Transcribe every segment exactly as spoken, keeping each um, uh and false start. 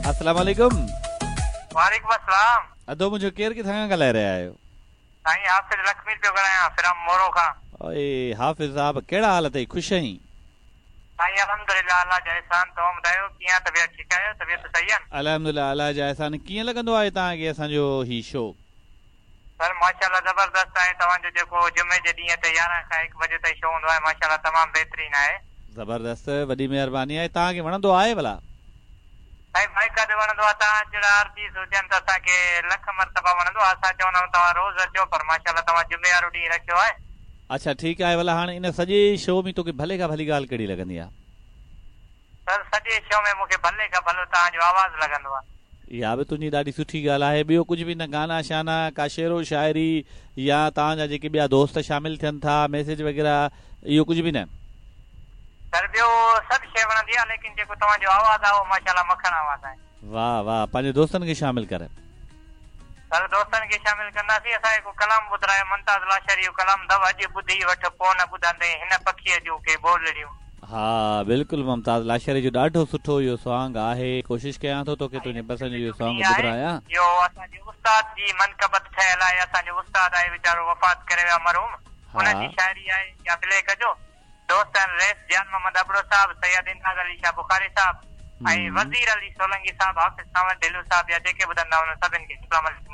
अस्सलाम वालेकुम। वालेकुम अस्सलाम। अदो मुंहिंजो केरु किथां खां ॻाल्हाए रहिया आहियो? साईं हाफ़िज़ लखमीर पियो ॻाल्हायां फ्रॉम मोरो खां। ओए हाफ़िज़ साहब, कहिड़ा हाल अथई, ख़ुशि आहीं? साईं अल्हम्दुलिल्लाह, अल्लाह जा एहसान। तव्हां ॿुधायो कीअं, तबियत ठीकु आहियो? तबियत सही आहे? अल्हम्दुलिल्लाह, अल्लाह जा एहसान। कीअं लॻंदो आहे तव्हांखे असांजो ही शो? सर माशाल्लाह ज़बरदस्त आहे। तव्हांजो जेको जुमे जे ॾींहं ते यारहं खां हिकु बजे ताईं शो हूंदो आहे, माशाल्लाह तमामु बहितरीन आहे। ज़बरदस्त, वॾी महिरबानी आहे। तव्हांखे वणंदो आहे भला? साईं बाइकादे वणंदो आहे। तव्हां जहिड़ा आर्टिस्ट हुजनि त असांखे लख मरतबा वणंदो आहे। असां चवंदा आहियूं तव्हां रोज़ अचो, पर माशाल्लाह तव्हां जुमे वारो ॾींहुं रखियो आहे। अच्छा ठीकु आहे। भला हाणे इन सॼे शो में तोखे भले खां भली ॻाल्हि कहिड़ी लॻंदी आहे? सर सॼे शो में मूंखे भले खां भलो तव्हांजो आवाज़ लॻंदो आहे। इहा बि तुंहिंजी ॾाढी सुठी ॻाल्हि आहे। ॿियो कुझु बि न, गाना शाना, का शेरो शाइरी या तव्हांजा जेके ॿिया दोस्त शामिल थियनि था, मैसेज वग़ैरह, इहो कुझु बि न? सर ॿियो सभु शइ वणंदी आहे, लेकिन जेको तव्हांजो आवाज़ आहे उहो माशाल्लाह मखण आवाज़ आहे। वाह वाह, पंहिंजे दोस्तनि खे शामिल कर। सर दोस्तनि खे शामिल कंदासीं। असां हिकु कलाम ॿुधायो, मुमताज़ लाशारी जो कलाम अथव, अॼु ॿुधी वठि पोइ न ॿुधंदे हिन पखीअ जूं के ॿोलड़ियूं। हा बिल्कुलु, मुमताज़ लाशारी जो ॾाढो सुठो इहो सॉन्ग आहे। कोशिशि कयां थो तोखे तुंहिंजे पसंदि जो इहो सॉन्ग ॿुधायां। इहो असांजे उस्ताद जी मनकबत ठहियल आहे। असांजो उस्ताद आहे वीचारो, वफ़ात करे वियो मरहूम, हुनजी शाइरी आहे। या प्ले कजो। दोस्त आहिनि रेस जान मोहम्मद अबड़ो साहब, सैयद इंदाज़ अली शाह बुखारी साहब ऐं वज़ीर अली सोलंगी साहब, हाफ़िज़ सावर ढिलू साहब, या जेके ॿुधंदा हुन सभिनि खे अस्सलाम वालेकुम।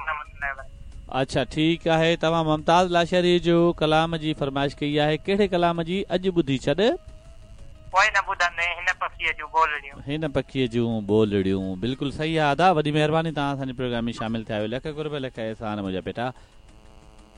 अच्छा ठीकु आहे। तव्हां मुमताज़ लाशारी जो कलाम जी फरमाइश कई आहे, कहिड़े कलाम जी? अॼु ॿुधी छॾ पोइ न ॿुधंदे हिन पखीअ जूं ॿोलड़ियूं। हिन पखीअ जूं ॿोलड़ियूं, बिल्कुलु सही आहे अदा, वॾी महिरबानी तव्हां असांजे प्रोग्राम में शामिल थिया आहियो। लख क़ुर्ब, लख एहसान मुंहिंजा बेटा।